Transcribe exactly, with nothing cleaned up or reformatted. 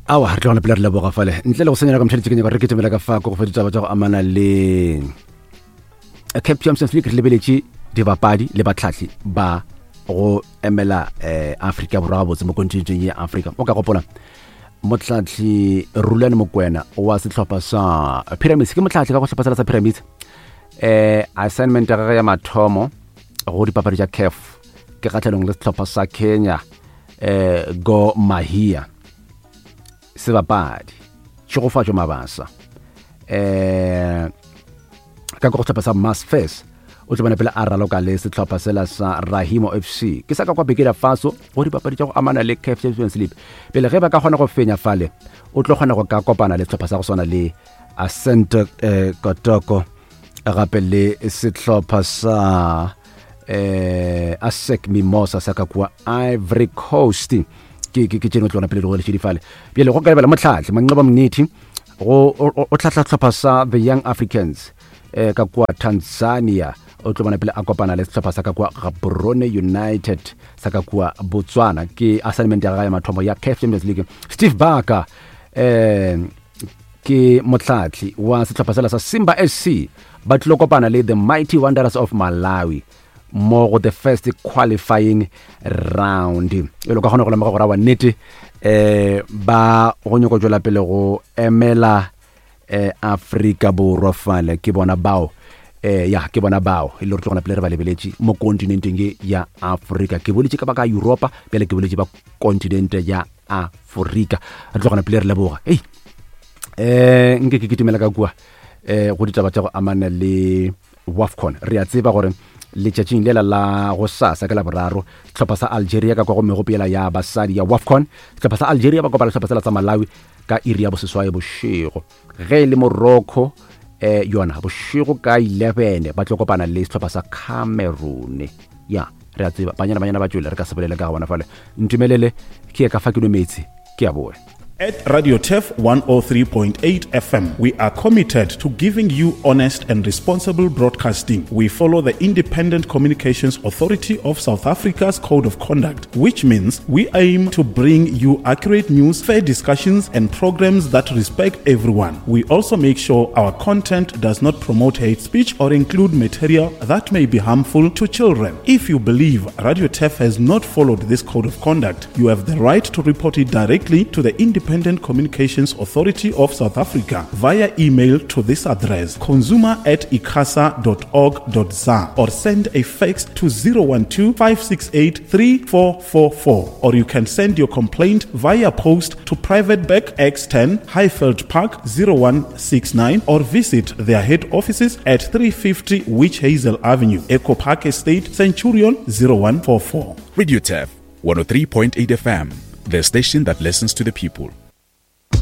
Awa, re tlogana pele re leboga fale ntle le go senyela ka mošaditse. Ke nyaka re ketemela ka fa ko go fa ditaba tša go amana le CAF Champions League. Re lebeletše dibapadi le batlhahli ba go emela eh, Afrika Borwa gabotse mo kontinenteng ya Afrika. O ka gopola motlhatlhi Rulane Mokwena wa sehlopha sa Pyramids, ke motlhatlhi ka go sehlopha sela sa Pyramids. eh assignment ya gagwe ya mathomo go dipapadi tša CAF ke kgatlhanong le sehlopha sa Kenya, eh Gor Mahia. Sebapadi Tšhegofatšo Mabasa eh ka go sehlopha sa Mass First o tlo bona pele a raloka le sehlopha sela sa Rahimo F C, ke sa ka kwa Burkina Faso, go dipapadi tša go amana le CAF Champions League. Pele ge ba ka kgona go fenya fale, o tlo kgona go ka kopana le sehlopha sa go swana le Asante eh, Kotoko, gape le sehlopha sa eh ASEC Mimosa sa ka kua Ivory Coast. Ke ke ke tšeno tlona pele di go di fale. Bjale go ka lebela motlhatlhi Manqoba Mngqithi go o tlhahla sehlopha sa the Young Africans eh ka kua Tanzania. O tlo bona pele a kopana le sehlopha sa ka kua Gaborone United sa ka kua Botswana, ke assignment ya gagwe ya mathomo ya CAF Champions League. Steve Barker eh ke motlhatlhi wa sehlopha sela sa Simba S C, ba tlilo kopana le the Mighty Wanderers of Malawi mo go the first qualifying round. E le ka kgona go lemoga gore wa nnete eh ba go nyako tšwela pele go emela eh Afrika Borwa fale ke bona bao. eh ya ke bona bao e le gore tlogona pele re ba lebeletše mo kontinenteng ye ya Afrika. Ke boletše ka ba ka Europa, bjale ke boletše ba kontinente ya Afrika. Re tlogona pele re leboga. Ei, eh nke ke kitimela ka kua eh go ditaba tša go amana le WAFCON. Re a tseba gore letšatšing lela la go sasa ka Laboraro, sehlopha sa Algeria ka kwa go megopela ya basadi ya WAFCON, sehlopha sa Algeria ba kopana le sehlopha sela sa Malawi ka iri ya boseswae bošego. Ge e le Morocco eh yona bošego ka eleven ba tlo kopana le sehlopha sa Cameroon. Ya, re a tseba Banyana Banyana ba tšwele, re ka se bolele ka ga bona fale. Ntumelele ke ye ka fa ke nwe meetse, ke a boe. At Radio Turf one oh three point eight F M, we are committed to giving you honest and responsible broadcasting. We follow the Independent Communications Authority of South Africa's Code of Conduct, which means we aim to bring you accurate news, fair discussions, and programs that respect everyone. We also make sure our content does not promote hate speech or include material that may be harmful to children. If you believe Radio Turf has not followed this code of conduct, you have the right to report it directly to the Independent Communications Authority of South Africa via email to this address, consumer at icasa dot org dot za, or send a fax to zero one two, five six eight three four four four, or you can send your complaint via post to Private Bag X ten, Highveld Park, zero one six nine, or visit their head offices at three fifty Witch Hazel Avenue, Echo Park Estate, Centurion, zero one four four. Radio Turf one oh three point eight F M, the station that listens to the people.